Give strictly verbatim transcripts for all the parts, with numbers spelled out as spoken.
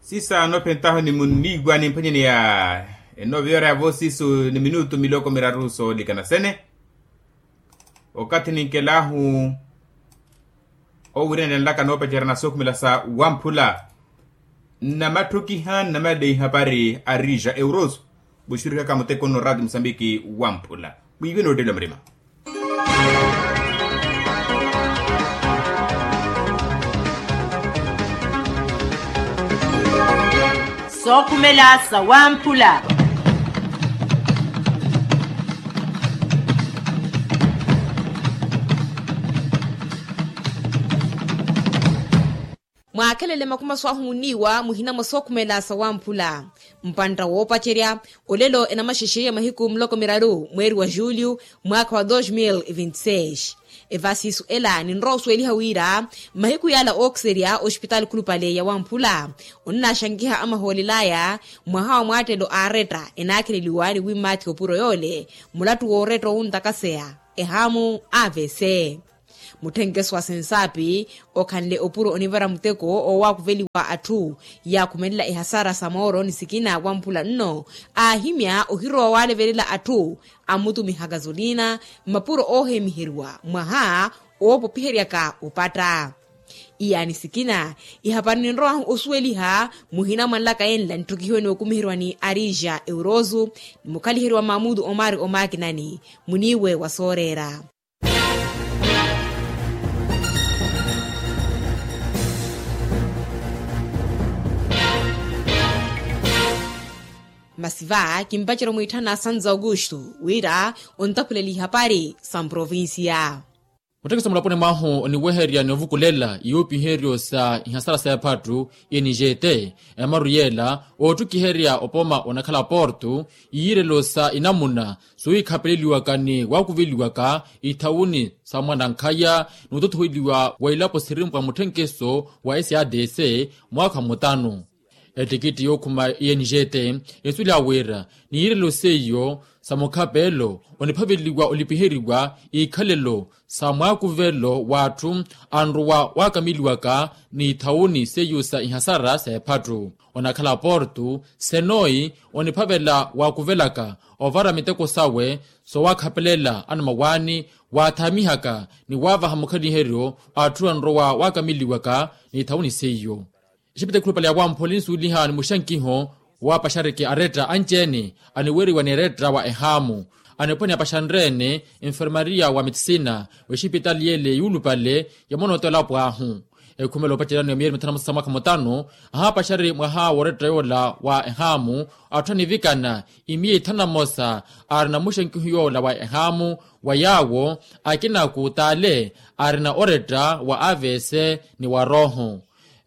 Sisa nophentahu ni munniiwa nimphwanyaneya. Enooviyora yavo sisu ni minutu miloko miraru soolikana sene. Okathi ninkelahu owirenelanlaka noopacerya na sookhumela sa wamphula. Nnamathukiha nnamalei hapari arija euroso. Vuxurihaka muteko nno rati musambiki wamphula. Mwiiwe nootteliwa murima. Sookhumela sa wamphula. Mwaakhelele makumaso ahu muniiwa muhina mwa sookhumela sa wamphula. Mpantta woopacerya olelo enamaxexe ya mahiku muloko miraru mweeri wa julio mwaakha wa dos mil e vinte seis. Evasisu ela ninrowa osuweliha wira mahiku yala ookiserya ospitaali khulupale ya wamphula onnaxankiha amahoolelaya mwaha wa mwaattelo aaretta enaakheleliwa ni wimmaathi opuro yoole mulattu wooretta owuntakaseya ehaamu avc. Mutthenkeso wa sensaapi okhanle opuro onivara muteko owaakuveliwa atthu yaakhumelela ehasara sa mooro ni sikina wamphula nno aahimya ohirowa waalevelela atthu ammutumiha kasolina mmapuro oohemiheriwa mwaha oopopiheryaka opatta. Iyaani sikina ihapari ninrowahu osuweliha muhina mwanlaka enla nitthukihiwe nookumiheriwa ni arija euroso ni mukhaliheri wa mamutu omari omaakinani muniiwe wa sooreera. Masi va kimpacerya omwiitthana santo augusto wira ontaphuleliha hapari sa mprovincia. Muttekesa mulaponi mwahu oniweherya ni ovukulela iyuupiheryo sa ihasara sa ephattu i n g t. Emaru yeela oottukiherya opoma onakhala porto iyiirelo sa inamuna suwiikhapeleliwaka ni waakuveliwaka ithawuni sa mwanankhaya ni otothoheliwa wa ilapo sirimpwa mutthenkeso wa s a d c mwaakha mutanu. Ettikitti yookhuma i n g t esuliha wira ni yiirelo seiyo sa mukhapelo oniphaveliwa olipiheriwa ikhalelo sa mwaakuvelo w'atthu anrowa waakamiliwaka ni ithawuni seiyo sa ihasara sa ephattu onakhala porto senoi oniphavela waakuvelaka ovara miteko sawe sowaakhapelela anamawaani waathaamihaka ni waavaha mukhaliheryo atthu anrowa waakamiliwaka ni ithawuni seiyo. Exipita ekhulupale ya wamphula ninsuweliha ni muxankiho waapaxariki aretta anci-ene aniweeriwa ni eretta wa ehaamu aniponi apaxanre-ene enfermaria wa metisina w'exipitali yeele yuulupale ya monooto elapo ahu. Ekhumela opaceryano ya miyeeri mithanu na mosa sa mwaakha mutanu ahaapaxari mwaha woretta yoola wa ehaamu atthu anivikana imiya ithanu na mosa aarina muxankiho yoola wa ehaamu wa yaawo akina kuutaale aarina oretta wa avc ni wa rooho.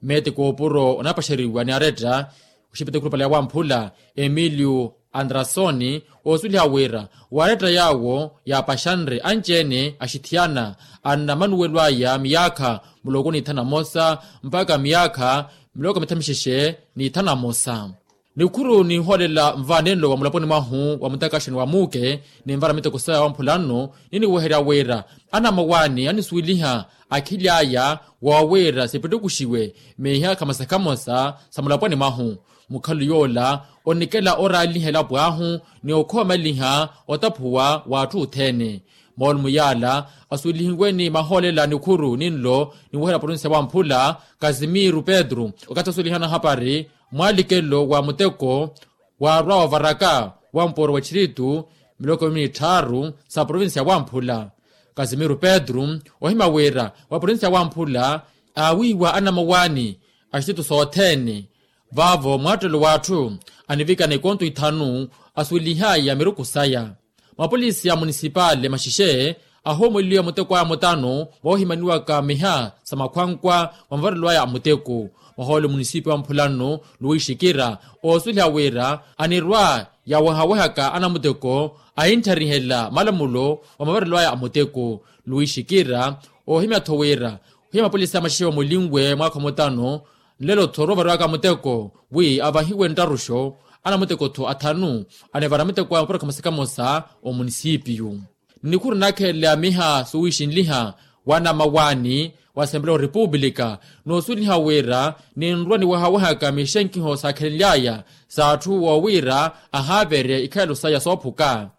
Meeti koopuro onapaxeriwa ni aretta oxipita ekhulupale ya wamphula emilio andrasoni oosuliha wira waretta yaawo yaapaxanre anci-ene axithiyana anna manuwelo aya miyaakha muloko ni ithanu na mosa mpakha miyaakha miloko mithamixexe ni ithanu na mosa. Nikhuru ninhoolela nvaanenlo wa mulaponi mwahu wa mutakaxani wa muuke ninvara miteko saya wamphula nno niniweherya wira anamawaani anisuweliha akhili aya woowiira sipittukuxiwe miiha khamosa khamosa sa mulaponi mwahu. Mukhalu yoola onikela oraaliha elapo ahu ni okhoomaliha otaphuwa w'atthu othene. Moolumo yaala asuwelihiwe ni mahoolela nikhuru ninlo niweherya provincia wamphula kasimiru pedro okathi asuwelihana hapari mwaalikelo wa muteko waarwa ovaraka wa mpooro wa txiritu miloko mini tthaaru sa provincia wamphula. Kasimiru pedro ohimya wira wa provincia wamphula aawiiwa anamawaani a xititu sothene vaavo mwaattelo w'atthu anivikana ekonto ithanu asuwelihaya miruku saya. Mapolisi a munisipale maxixexe ahoomweliwa muteko aya mutanu voohimaniwaka miha sa makhwankwa mwa mavarelo aya a muteko. Mwahoole munisipi wa mphulanno luwixikira oosuliha wira anirwa yawehawehaka anamuteko ahinttharihela malamulo wa mavarelo aya a muteko. Luwixikira oohimya-tho wira ohiya mapolisi a maxixexe omulinwe mwaakha mutanu nlelo-tho orovariwaka muteko wi avahiwe nttaruxo anamuteko-tho athanu anivara muteko a mapuro khamosa khamosa omunisipiyu. Nnikhuru naakhelele a miha suwixinliha Wa namawaani wa asempela wa repupulika, noosuweliha wira ninrwa niwehawehaka mixenkiho saakhelenly'aya s'atthu woowiira ahaaverye ikhalelo saya soophuka.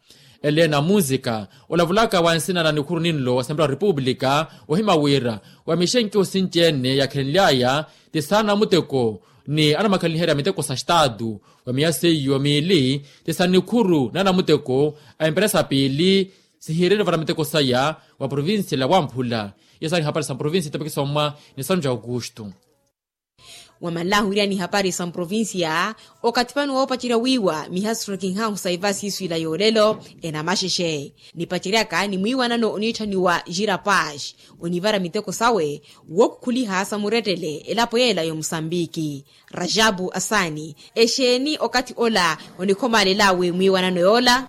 Elena munzika olavulaka wa nsina na nikhuru ninlo wa asempela wa repupulika, ohima wira wa mixenkiho sinci-ene yaakhelenly'aya ti saanamuteko ni anamakaliherya miteko sa staatu, wa miya seiyo miili ti sa nikhuru n'anamuteko a emperesa piili, sihiirele vana miteko saya wa provincia la wamphula. Iyo saari hapari sa provincia itopiki sommwa ni sanu ja aukustu. Wamanlahu wira ni hapari sa mprovincia, okathi vano woopacerya wiiwa mihasiro kinhahu sa iva siiswila yoolelo enamaxexe, nipaceryaka ni mwiiwanano oniitthaniwa jira pash, onivara miteko sawe wookukhuliha sa murettele elapo yeela y'omusambiki. Rajabu asaani, exeeni okathi ola onikhomaalel'awe mwiiwanano yoola?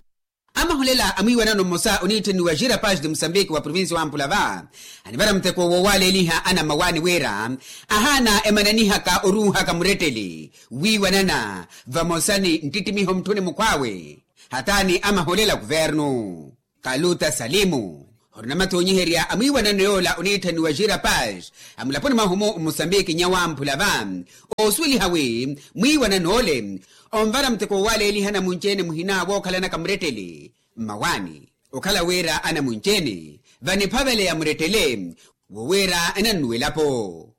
Amaholela a mwiiwanano mmosa oniitthaniwa jira pash de musambiki wa provincia wa mpulava, anivara muteko woowaaleeliha anammawaani wira ahaana emananihaka oruuhaka murettele wiiwanana vamosa ni nttittimiho mutthuni mukhw'awe, hataani amaholela a kuvernu. Kaluta salimu, orina mathoonyiherya a mwiiwanano yoola oniitthaniwa jira pash a mulaponi mwahu-mu mmusambiki nnya wamphula va, oosuweliha wi mwiiwanano ole onvara muteko woowaaleeliha anamunci-ene muhina wookhalanaka murettele mmawaani, okhala wira anamunci-ene vaniphaveleya murettele wo wira enannuwa elapo.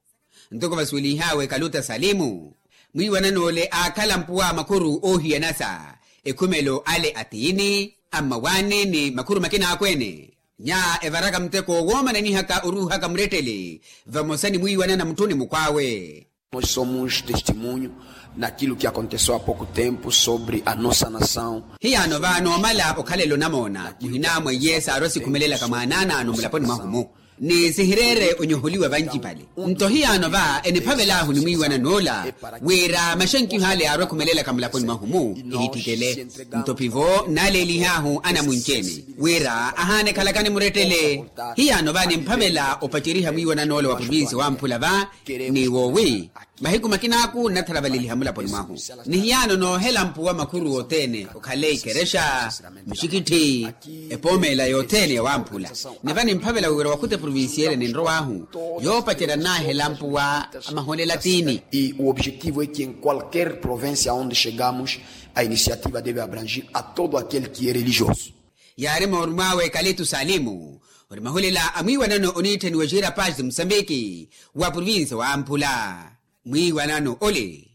Ntoko vasuwelinh'awe kaluta salimu, mwiiwanano ole aakhala mpuwa makhuru oohiyanasa ekhumelo ale a tiini, a mmawaani ni makhuru makina akweene. Nya evaraka muteko woomananihaka oruuhaka murettele vamosa ni mwiiwanana mutthuni mukhw'awe. Nos somos testemunho naquilo que aconteceu há pouco tempo sobre a nossa nação. Hiyaano va noomala okhalela onamoona muhina mwa iye saarwa sikhumelelaka mwaanaanaano mulaponi mwahu-mu, ni sihireere onyoholiwa vancipale. Nto hiyaano va eniphavel'ahu ni mwiiwanano ola wira maxenkiho ale yaarwa ekhumelelaka mulaponi mwahu-mu ehittikele. Nto pivo naaleelih'ahu anamunci-ene wira ahaana ekhalakani murettele. Hiyaano va nimphavela opaceriha mwiiwanano ola wa provincia wa mphula va, ni woowi mahiku makin'aku nnatharavaleliha mulaponi mwahu. Ni hiyaano noohela mpuwa makhuru othene okhale ikerexa, mixikitthi, epoomela yothene ya wamphula. Ni va nimphavela wira wakhuta eprovincia ele ninrow'ahu yoopacerya nnaahela mpuwa a maholela a tiini. E o objetivo é que em qualquer província onde chegamos a iniciativa deve abrangir a todo aquele que é religioso. Yaari moorum'awe kalitu salimu, ori maholela a mwiiwanano oniitthaniwa jira pax de musambiki wa provincia wa mphula. Mwiiwanano ole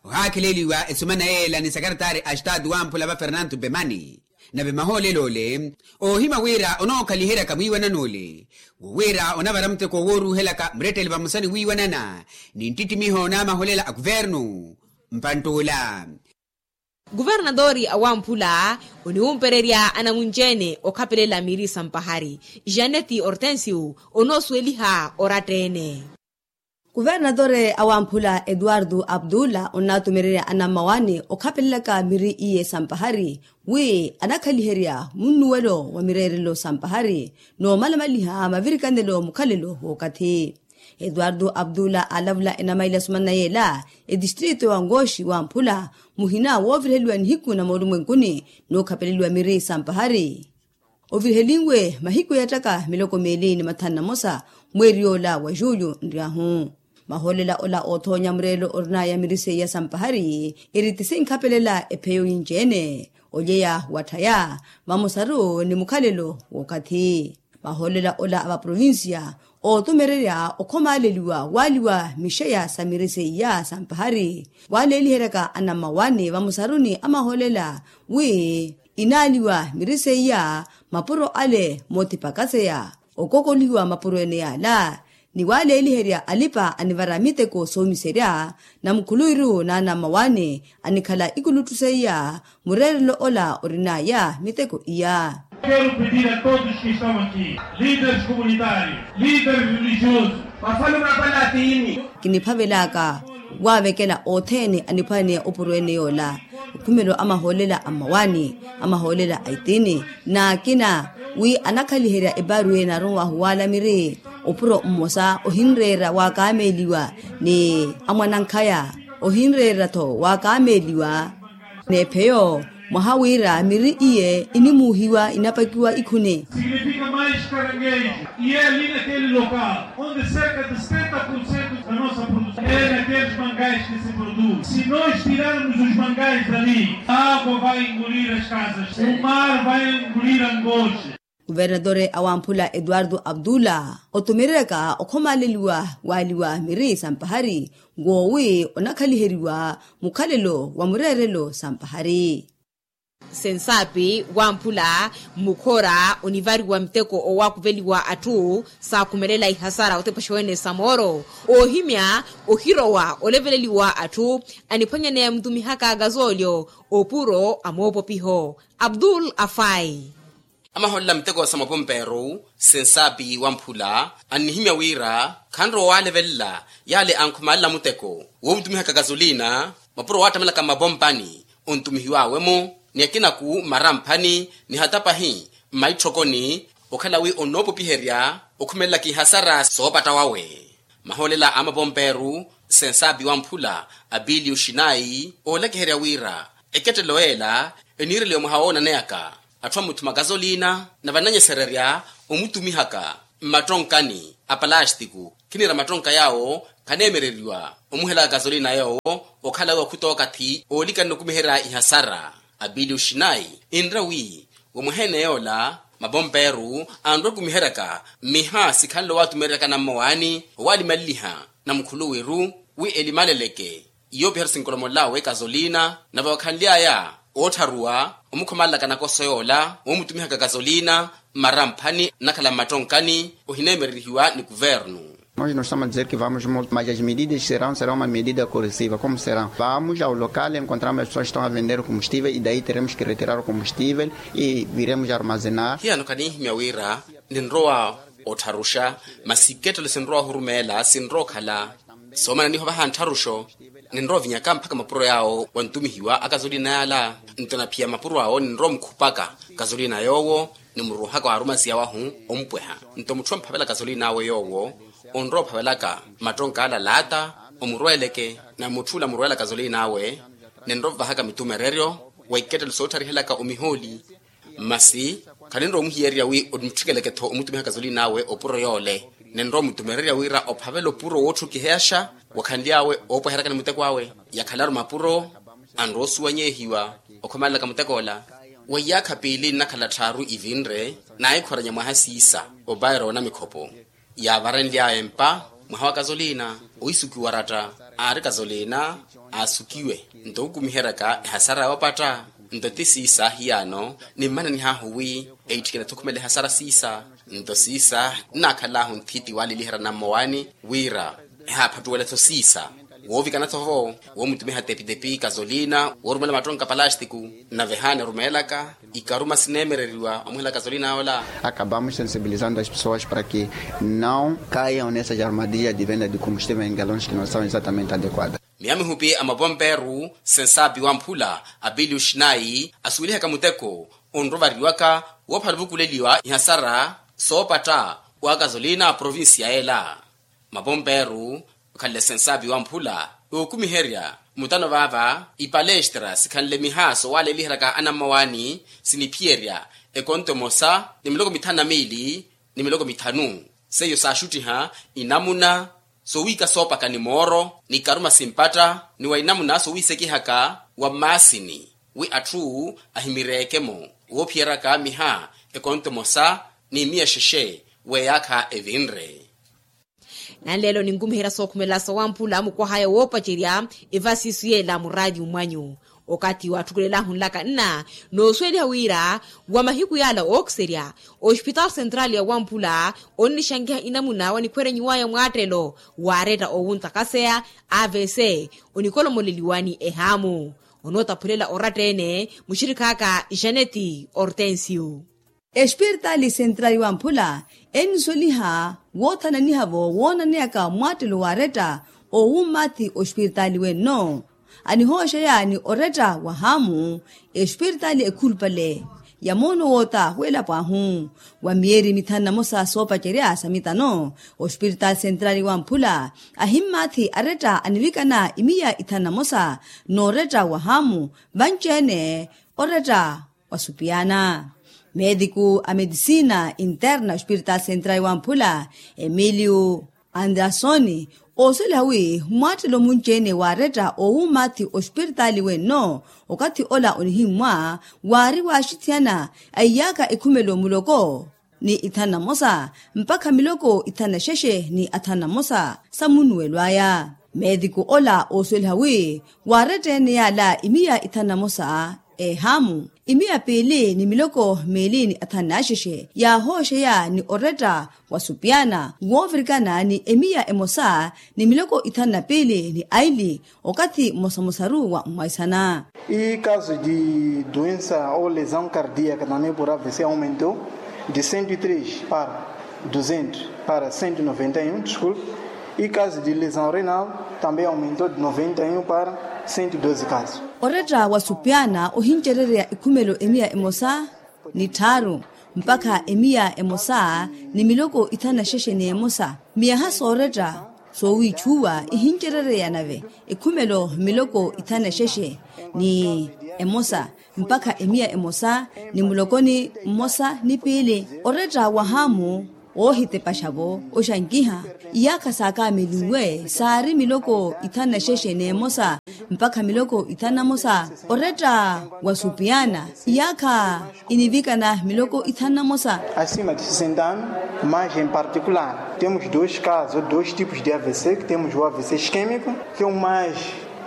ohaakheleliwa esumana yeela ni sakaratari a estatu wa mphula va fernanto pemani. Nave mahoolelo ole oohima wira onookhaliheryaka mwiiwanano ole wo wira onavara muteko wooruuhelaka murettele vamosa ni wiiwanana ni nttittimiho n'amaholela a kuvernu. Mpantt'ula. Kuvernatoori a wamphula oniwumpererya anamunci-ene okhapelela miri sa mpahari. Janeti hortensio onoosuweliha oratta-ene. Kuvernatore a wamphula eduardo abdula onnaatumererya anammawaani okhapelelaka miri iye sa mpahari wi anakhaliherya munnuwelo wa mireerelo sa mpahari n'omalamaliha mavirikanelo mukhalelo w'okathi. Eduardo abdula aalavula enamaila sumana yeela etistrito wa ngoxi wamphula muhina wooviriheliwa nihiku na moolumwenkuni n'ukhapeleliwa miri sa mpahari. Ovirihelinwe mahiku yattaka miloko meeli ni mathanu na mosa mweeri yoola wa juyu nryahu. Mahoolela ola oothoonya mureelo orinaya miri seiya sa mpahari eri ti sinkhapelela epheyo yinci-ene olyeya watthaya vamosaru ni mukhalelo w'okathi. Mahoolela ola a vaprovincia ootumererya okhomaaleliwa waaliwa mixeya sa miri seiya sa mpahari waaleeliheryaka anammawaani vamosaru ni amahoolela wi inaaliwa miri seiya mapuro ale moothipakaseya okokoliwa mapuro ene yaala ni waaleeliherya alipa anivara miteko soomiserya na mukhuluwiru n'anammawaani anikhala ikulutthu seiya mureerelo ola orinaya miteko iya. Quero pedir a todos que estão aqui, líderes comunitários, líderes religiosos, vafalumapala a tiini. Kiniphavelaka waavekela othene aniphwaneya opuro ene yoola okhumelo a mahoolela a mmawaani a mahoolela a itiini n'akina wi anakhaliherya epaaru ene aronwahu waala miri opuro mmosa ohinreera waakaameeliwa ni amwanankhaya ohinreera-tho waakaameeliwa n'epheyo Mwaha wira miri iye inimuuhiwa inapakiwa ikhuni. Significa mais caranguejo. E é ali naquele local onde cerca de setenta por cento da nossa produção é naqueles mangais que se produz. Se nós tirarmos os mangais dali, a água vai engolir as casas, o mar vai engolir Angoche. Kuvernatore a wamphula etuwartu aptula otumireryaka okhomaleliwa waaliwa miri sa mpahari, ngoowi onakhaliheriwa mukhalelo wa mureerelo sa mpahari. Sensaapi wamphula mmukhora onivariwa muteko owaakuveliwa atthu saakhumelela ihasara otepaxa wene sa mooro, oohimya ohirowa oleveleliwa atthu aniphwanyaneya mutumihaka kazoolyo opuro a moopopiho. Abdul afai. Amaholela muteko sa mapompeeru sensaapi wamphula annihimya wira khanrowa waalevelela yaale ankhumalela muteko woomutumihaka kasolina mapuro waattamelaka mmapompani ontumihiwaawe-mo ni akinaku mmaramphani ni hata pahi mmaitthokoni okhala wi onnoopopiherya okhumelelaka ihasara soopatta wawe. Mahoolela a mapompeeru sensaapi wamphula apiliyo xinayi oolakiherya wira ekettelo ela eniireliwa mwaha woonaneyaka atthu ammuthuma kasolina na vananyesererya omutumihaka mmattonkani a palastiku khiniira mattonka yaawo khaneemereriwa omuhelaka kasolina yoowo okhala wi okhutookathi oolikanne okumiherya ihasara. Apiliyo xinayi enre wi womweheene yoola mapompeeru anrwa okumiheryaka mmiha sikhanle owaatumereryaka nammowaani owaalimaliliha na mukhuluwiru wi elimaleleke yoopiherya sinkolomolelawe kasolina nave wakhanly'aya oottharuwa omukhomalelaka nakoso yoola woomutumihaka kasolina mmaramphani nnakhala mmattonkani ohineemererihiwa ni kuvernu. Nós não estamos a dizer que vamos multar mas as medidas que serão serão uma medida corrosiva como serão vamos ao local encontramos as pessoas que estão a vender o combustível e daí teremos que retirar o combustível e viremos armazenar. Hiyano khaninhimya wira ninrowa ottharuxa masi ikettelo sinrowa ohurumeela sinrowa okhala soomananiha ovaha nttharuxo. Ninrowa ovinyaka mphaka mapuro yaawo wantumihiwa akasolina yaala nto naphiya mapuro awo ninrowa omukhupaka kasolina yoowo nimuruuhaka waarumasiya wahu ompweha nto mutthu omphavela kasolina awe yoowo onrowa ophavelaka mattonka ala laata omurweeleke na mutthu ola murweela kasolina awe ninrowa ovahaka mitumereryo wa ikettelo soottarihelaka omihooli. Masi khaninrowa omuhiyererya wi omutthikelekettho omutumiha kasolina awe opuro yoole ninrowa omutumererya wira ophavela opuro wootthukiheyaxa wakhanly'awe oopweheryaka ni muteko awe yakhalaru mapuro anrowa osuwanyehiwa okhomalelaka muteko ola. Wa iyaakha piili nnakhala tthaaru ivinre naahikhoranya mwaha siisa opaira wa namikhopo yaavarenly'aya empa mwaha wa kasolina oisukiwa oratta aari kasolina aasukiwe nto okukumiheryaka ehasara yoopatta nto ti siisa hiyano nimmananih'ahu wi eitthikene-tho okhumela ehasara siisa nto siisa nnaakhal'ahu nthiti waaliliherya nammowaani wira ehaaphattuwela-tho siisa woovikana-tho vo woomutumiha tepitepi kasolina woorumela mattonka palastiku nave haana erumeelaka ikaruma sineemereriwa omuhela kasolina yoola. Acabamos sensibilizando as pessoas para que não caiam nessas armadilhas de venda de combustível em galões que não são exatamente adequadas. Miya mihupi a mapompeeru sensaapi wamphula apiliyo xinayi asuwelihaka muteko onrovariwaka woophala ovukuleliwa ihasara soopatta wa kasolina a provincia ela. Mapompeeru okhanle sensaapi wamphula ookumiherya mutano vaava ipalestra sikhanle miha soowaaleliheryaka anammawaani siniphiyerya ekonto emosa ni miloko mithanu na miili ni miloko mithanu. Seiyo saaxuttiha inamuna sowiika soopaka ni mooro ni karuma simpatta ni wa inamuna sowiisekihaka wa mmaasini wi atthu ahimireeke-mo woophiyeryaka miha ekonto emosa ni miya exexe w'eyaakha evinre. Nanleelo ninkumiherya sookhumelela sawamphula mukwahaya woopacerya evasiisu yeela muraatiyu mwanyu okathi waatthukulelahu nlaka nna noosuweliha wira wa mahiku yaala ookiserya ospitaali sentraali ya wamphula onnixankiha inamuna wanikhwerenyiwaya mwaattelo waaretta oowuntakaseya avc onikolomoleliwani ehaamu. Onootaphulela oratta-ene muxirikhaaka janeti hortensio. Espiritaali sentraali wamphula ennisweliha woothananiha-vo woonaneyaka mwaattelo waaretta oowummathi ospiritaali wenno anihooxeya ni oretta wahaamu. Espiritaali ekhulupale ya moono woota w'elapo ahu wa miyeeri mithanu na mosa soopacerya sa mitano ospiritaali sentraali wamphula ahimmaathi aretta anivikana imiya ithanu na mosa n'oretta wahaamu vanci-ene oretta wa supiyana. Meetiku a medisina interna ospiritaali sentrali wamphula emiliyu andrasoni oosweliha wi mwaattelo munci-ene waaretta owumathi ospiritaali wenno okathi ola onihimmwa waari waaxithiyana a iyaakha ekhumelo muloko ni ithanu na mosa mpakha miloko ithanu na xexe ni athanu na mosa sa munnuwelo aya. Meetiku ola oosweliha wi waaretta ene yaala imiya ithanu na mosa ehamu imiya piili ni miloko miili ni athanu na xexe yaahooxeya ni oretta wa supiyana woovirikana ni emiya emosa ni miloko ithanu na piili ni aili okathi mmosamosaru wa mmwaisana. E caso de doença ou lesão cardíaca também por avc aumentou de cento e três para duzentos para cento e noventa e um desculpe. E caso de lesão renal também aumentou de noventa e um para cento e doze casos. Oretta wa supiyana ohincerereya ekhumelo emiya emosa ni tthaaru mpakha emiya emosa ni miloko ithanu na xexe ni emosa. Miyaha sooretta soowiitxuwa ihincerereya nave ekhumelo miloko ithanu na xexe ni emosa mpakha emiya emosa ni mulokoni mmosa ni piili oretta wahaamu woohitepaxa-vo oxankiha iyaakha saakaamilinwe saari miloko ithanu na xexe n'emosa mpakha miloko ithanu na mosa. Oretta wa supiyana iyaakha inivikana miloko ithanu na mosa. Acima de sessenta anos mas em particular temos dois casos dois tipos de avc que temos o avc isquemico que é o mais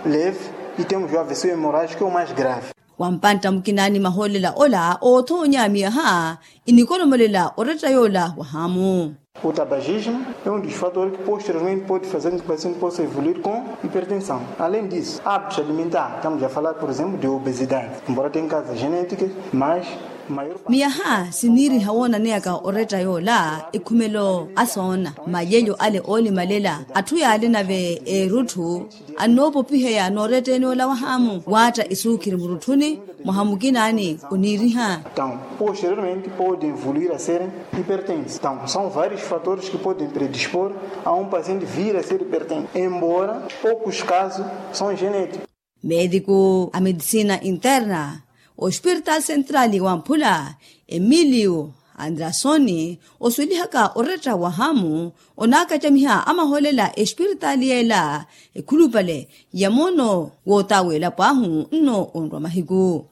leve e temos o avc hemorágico que é o mais grave. Wampantta mukinaani mahoolela ola oothoonya miyaha inikolomolela oretta yoola wahaamu. O tabagismo é um dos fatores que posteriormente pode fazer com que o paciente possa evoluir com hipertensão. Além disso hábitos alimentar estamos a falar por exemplo de obesidade embora tem causas genéticas mas maior parte. Miyaha siniiriha woonaneyaka oretta yoola ekhumelo asoona malelyo ale oolimalela atthu yaale nave erutthu annoopopiheya nooretteni ola wahaamu waatta esuukhiri murutthuni mwaha mukinaani oniiriha. Então posteriormente pode evoluir a ser hipertenso então são vários fatores que podem predispor a um paciente vir a ser hipertenso embora poucos casos são genéticos. Meetiku a medisina interna ospiritaali sentrali wamphula emiliyu andrasoni oswelihaka oretta wahaamu onaakacamiha amahoolela espiritaali yeela ekhulupale ya moono wootaweelapo ahu nno onrwa mahiku.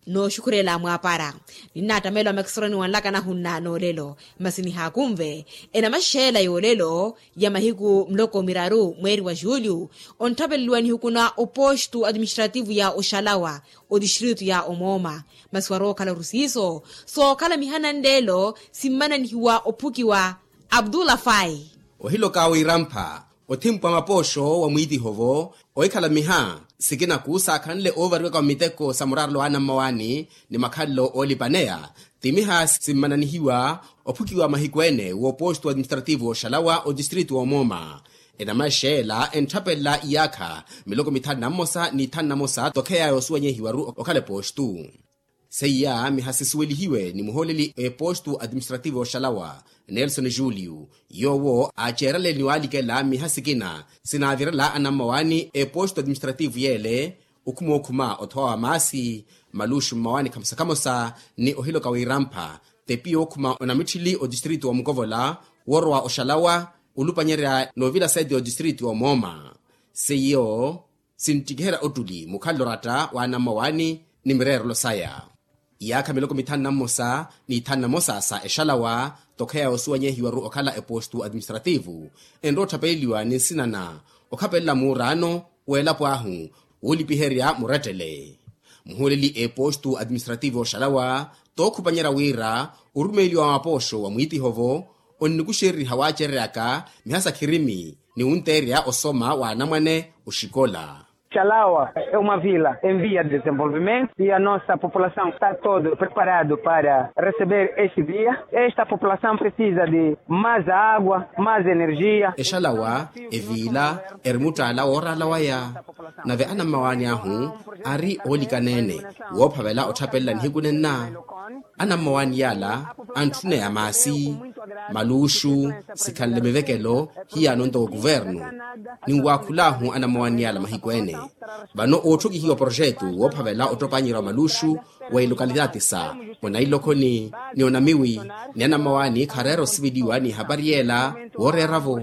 Nooxukhurela mwaapara ninnaattameela omakisoroni wanlaka nahunna noolelo masi nihaakunve enamaxeela yoolelo ya mahiku muloko miraru mweeri wa julho onttapeleliwa nihukuna opostu administrativu ya oxalawa otistritu ya omooma masi warookhala orusiiso sookhala mihana nleelo simmananihiwa ophukiwa. Abdullah fai ohiloka wiirampha othimpu a mapooxo wa mwiitiho-vo ohikhala miha sikinaku saakhanle oovariwaka wa miteko sa muraarelo wa anammawaani ni makhalelo oolipaneya ti miha simmananihiwa ophukiwa mahiku ene w'opostu administrativu oxalawa otistritu omooma enamaxeela entthapelela iyaakha miloko mithanu na mmosa ni ithanu na mmosa tokheya yoosuwanyehiwaru okhala epostu. Seiya miha sisuwelihiwe ni muhooleli epostu administrativu oxalawa nelson julio yoowo aaceerale ni waalikela miha sikina sinaavirela anammawaani epostu administrativu yeele okhuma okhuma othowa wa maasi maluxu mmawaani khamosa khamosa ni ohiloka wiirampha tepi yookhuma onamitthili otistritu wa mukovola woorowa oxalawa olupanyerya noovila seti otistritu omooma seiyo sinttikiherya ottuli mukhalelo oratta wa anammawaani ni mireerelo saya. Iyaakha miloko mithanu na mmosa ni ithanu na mosa sa exalawa tokheya yoosuwanyehiwaru okhala epostu administrativu enrowa otthapeleliwa ni nsinana okhapelela muuraano w'elapo ahu woolipiherya murettele muhuuleli epostu administrativu oxalawa tookhupanyerya wira orumeeliwa wa mapooxo wa mwiitiho-vo onnikuxereriha waacereryaka miha sa khirimi ni wunteerya osoma wa anamwane oxikola. Xalawa é uma vila em via de desenvolvimento e a nossa população está todo preparado para receber este dia. Esta população precisa de mais água, mais energia. Exalawa eviila eri muttaala wooraala waya nave anammawaani ahu ari oolikaneene woophavela otthapelela nihiku nenna anammawaani yaala antthuneya maasi maluxu sikhanle mivekelo hiyaano ntoko kuvernu ninwaakhul'ahu anammawaani yaala mahiku ene vano ootthokihiwa proxetu woophavela ottopanyerya wa maluxu wa ilokalitaati sa onailokhoni ni onamiwi ni anammawaani khareera osiveliwa ni ehapari yeela wooreeravo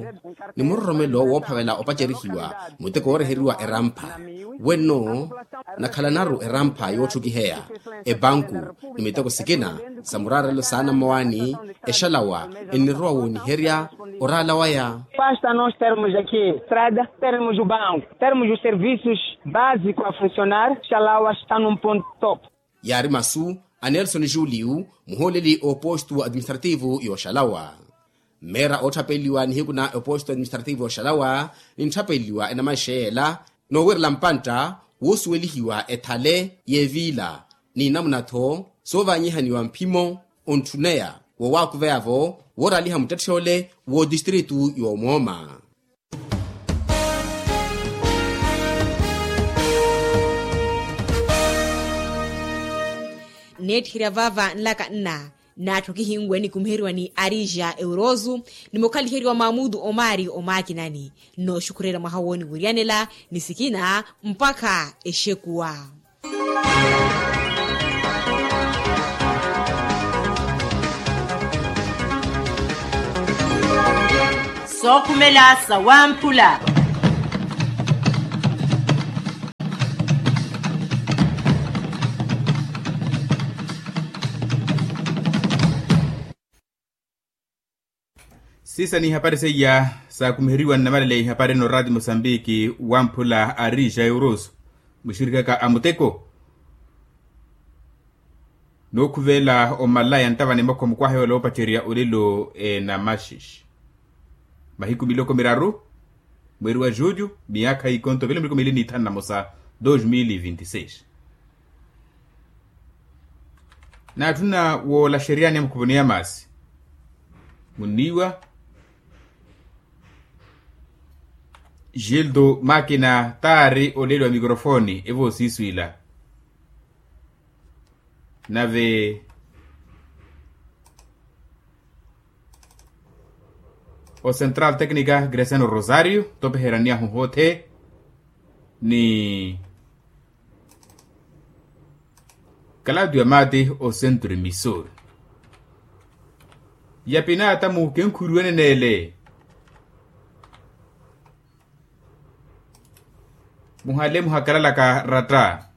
ni muroromelo woophavela opacerihiwa muteko wooreheriwa erampha wenno nakhalanaru erampha yootthukiheya epanku ni miteko sikina sa muraarelo sa anammawaani exalawa ennirowa wooniherya oraala waya. Pasta nos termos aqui estrada termos o banco termos o serviços básico a funcionar xalawa xtanun ponto top. Yaari masu a nelson julio muhooleli oopostu administrativo yooxalawa mmeera ootthapeliwa nihiku na eposto administrativo oxalawa nintthapeliwa enamaixeela noowerela mpantta woosuwelihiwa ethale y'eviila ni namuna-tho soovaanyihaniwa mphimo ontthuneya woowakuveya-vo wooraaliha muttetthe ole wootistritu y'omooma. Nneetthirya vaava nlaka nna naatthu kihinwe nikumiheriwa ni arija eurosu ni mukhaliheriwa mamutu omari omakinani nnooxukhurerya mwaha wooniwiryanela ni sikina mpakha exekuwa. Sookhumela sawamphula. Siisa n'ihapari seiya saakumiheriwa nnamalaleya ihapari eno raati mosambiki wamphula ari jairus muxirikaka a muteko. Nookhuvela omalaya nttava nimokho mukwaha yoola oopacerya olelo enamaxixi mahiku miloko miraru mweri wa julho miyaakha ikonto velo miloko mili ni ithanu na mosa dos mil vinti seis. Naatthuna woolaxeryani ya mukhuvono ya maasi munniiwa gildo makina taari olelo wa mikrofoni evoosiiswiila nave o central tecnica greciano rosario topeheraniyahu hothe ni kalatu ya maati o centro emisor ya pinaatamu kenkhuriwene neele. Muhale muhakalalaka ratta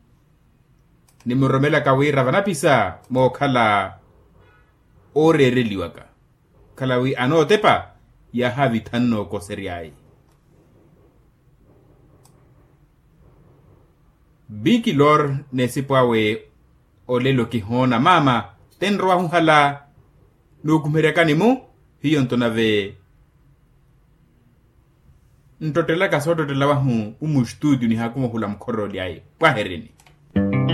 nimuroromelaka wira vanapisa mookhala ooreereliwaka khala wi anootepa yaahaavitha nnookosery'aye. Bikilor n'esipo awe olelo kihoona maama tenrowahu hala nookumeryakani-mu hiyo nto nave nttottelaka soottottela wahu umu estutio nihaakumuhula mukhor'olyaye pwaherini.